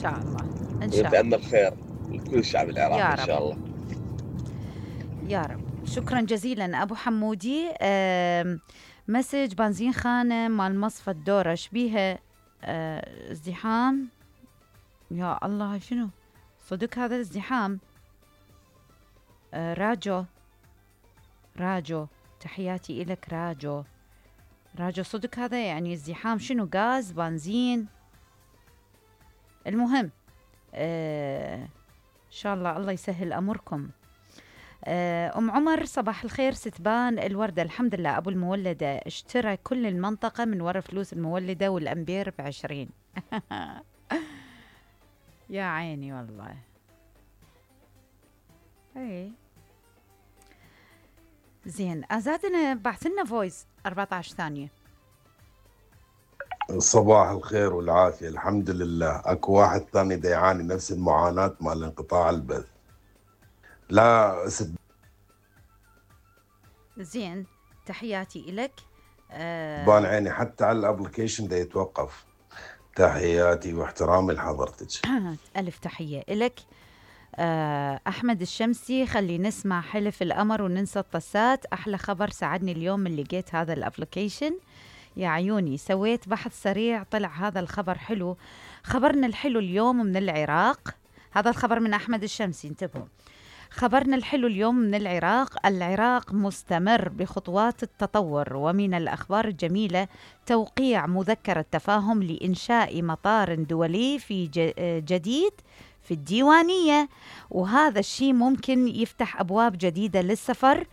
شاء الله إن شاء الله. ونتأمل خير لكل الشعب العراقي إن شاء الله يا رب. شكرا جزيلا أبو حمودي. مسج بنزين خانة مال مصفى الدورة شبيها ازدحام. يا الله شنو صدق هذا الازدحام؟ راجو تحياتي إلك راجو صدق هذا يعني ازدحام شنو؟ غاز بنزين؟ المهم إن شاء الله يسهل أمركم. أم عمر صباح الخير ستبان الوردة الحمد لله أبو المولدة اشترى كل المنطقة من ورا فلوس المولدة والأمبير ب20. يا عيني والله. اي زين أزادنا بعثلنا فويس 14 ثانية. صباح الخير والعافية. الحمد لله اكو واحد ثاني دا يعاني نفس المعاناة مال انقطاع البث. لا زين تحياتي إلك. بان عيني حتى على الابلكيشن دا يتوقف. تحياتي واحترامي لحضرتك. ألف تحية إلك. أحمد الشمسي خلي نسمع حلف القمر وننسى الطسات. أحلى خبر ساعدني اليوم من لقيت هذا الابلكيشن. يا عيوني سويت بحث سريع طلع هذا الخبر حلو. خبرنا الحلو اليوم من العراق. هذا الخبر من أحمد الشمسي انتبهوا. خبرنا الحلو اليوم من العراق مستمر بخطوات التطور. ومن الأخبار الجميلة توقيع مذكرة تفاهم لإنشاء مطار دولي في جديد في الديوانية. وهذا الشيء ممكن يفتح أبواب جديدة للسفر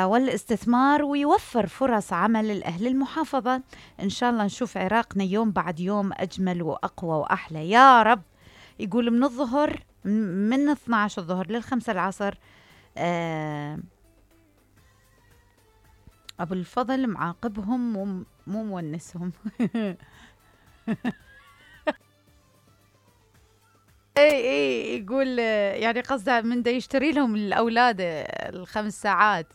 والاستثمار ويوفر فرص عمل لأهل المحافظة. إن شاء الله نشوف عراقنا يوم بعد يوم أجمل وأقوى وأحلى يا رب. يقول من الظهر من 12 الظهر لل5 العصر. أبو الفضل معاقبهم مو مونسهم. اي يقول يعني قصده من دا يشتري لهم الأولاد 5 ساعات.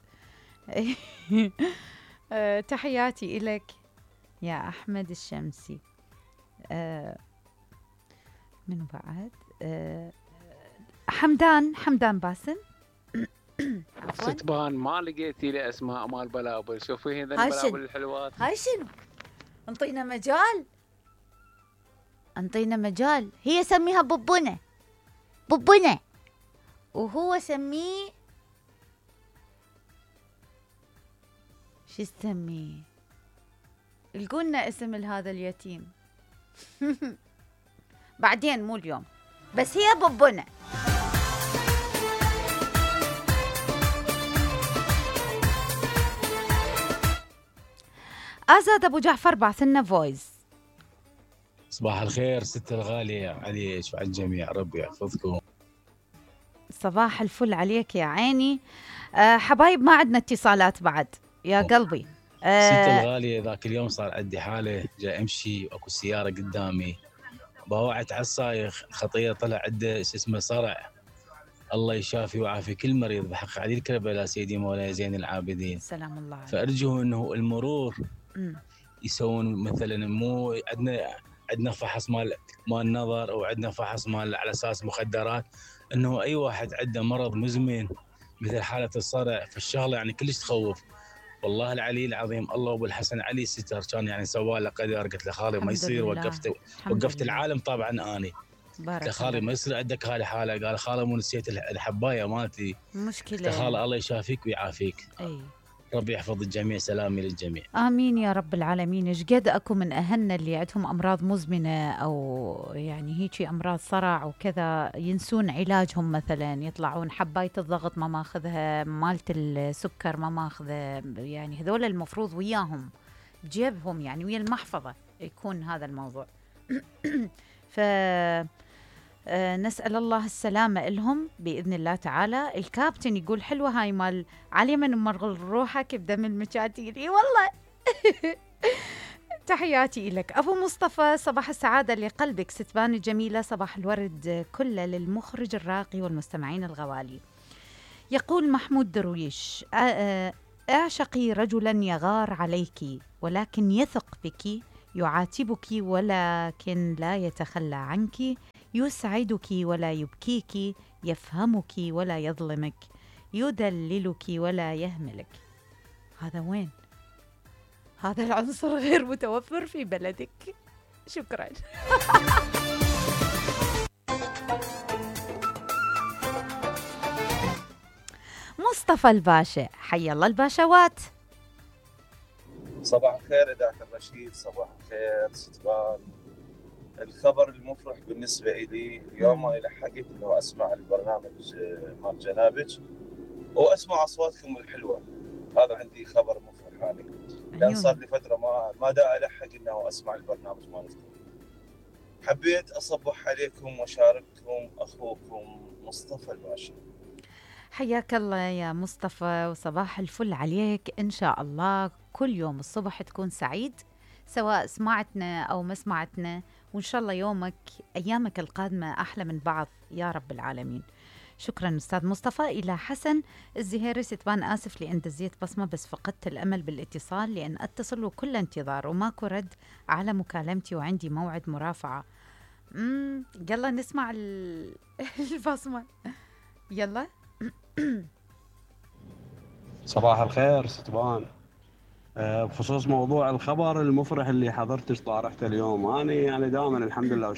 تحياتي إلك يا أحمد الشمسي. من بعد حمدان باسم. ستبان ما لقيتي لي اسماء مال بلابل. شوفي هذا البلابل الحلوات. هاي شنو؟ انطينا مجال. هي سميها ببونة وهو سميه شو تسميه؟ لقولنا اسم هذا اليتيم. بعدين مو اليوم بس هي ببونة. أزاد أبو جعفر بعثلنا فويس. صباح الخير ست الغالية عليك وعلى الجميع ربي يحفظكم. صباح الفل عليك يا عيني. حبايب ما عندنا اتصالات بعد يا قلبي. ست الغالية ذاك اليوم صار عندي حالة جاي أمشي وأكو سيارة قدامي باوعت على الصايخ خطية طلع عنده اسمه صرع. الله يشافي ويعافي كل مريض بحق علي الكربلاء سيدي مولاي زين العابدين سلام الله عليك. فأرجو أنه المرور يسوون مثلا مو عندنا فحص مال نظر او عندنا فحص مال على اساس مخدرات انه اي واحد عنده مرض مزمن مثل حاله الصرع فالشغله يعني كلش تخوف. والله العلي العظيم الله ابو الحسن علي ستر كان يعني سوى له قدر. قلت له خالي ما يصير وقفت العالم طبعا اني قلت له خالي ما يصير عندك هذه الحاله. قال خالي مو نسيت الحبايه مالتي مشكله. خالي الله يشافيك ويعافيك. اي ربي يحفظ الجميع. سلامي للجميع. آمين يا رب العالمين. إيش قد أكو من أهلنا اللي عندهم أمراض مزمنة أو يعني هيجي أمراض صرع وكذا ينسون علاجهم مثلا يطلعون حباية الضغط ما ماخذها مالة السكر ما ماخذها يعني هذول المفروض وياهم بجيبهم يعني ويا المحفظة يكون هذا الموضوع. نسأل الله السلامة لهم بإذن الله تعالى. الكابتن يقول حلوة هاي مال علي من مرغل روحك بدم المشاتيل. اي والله. تحياتي لك أبو مصطفى. صباح السعادة لقلبك ستبان الجميلة. صباح الورد كله للمخرج الراقي والمستمعين الغوالي. يقول محمود درويش اعشقي رجلا يغار عليك ولكن يثق بك يعاتبك ولكن لا يتخلى عنك يسعدك ولا يبكيك، يفهمك ولا يظلمك، يدللك ولا يهملك. هذا وين؟ هذا العنصر غير متوفر في بلدك. شكرا. مصطفى الباشا، حي الله الباشوات. صباح الخير إذاعة الرشيد، صباح الخير ستبان. الخبر المفرح بالنسبة إلي اليوم أنا لحقت إنه أسمع البرنامج مال جنابج وأسمع أصواتكم الحلوة. هذا عندي خبر مفرح يعني، لأن صار لي فترة ما دا ألحق إنه أسمع البرنامج مالتكم. حبيت أصبح عليكم وأشارككم أخوكم مصطفى الباشا. حياك الله يا مصطفى، وصباح الفل عليك. إن شاء الله كل يوم الصبح تكون سعيد، سواء سمعتنا أو ما سمعتنا، وإن شاء الله يومك أيامك القادمة أحلى من بعض يا رب العالمين. شكرا أستاذ مصطفى. إلى حسن الزهيري، ستبان آسف لأن دزيت بصمة، بس فقدت الأمل بالاتصال لأن أتصل وكل انتظار وماكو رد على مكالمتي وعندي موعد مرافعة. يلا نسمع البصمة. يلا. صباح الخير ستبان. بخصوص موضوع الخبر المفرح اللي حضرت طارحته اليوم، أنا يعني دائما الحمد لله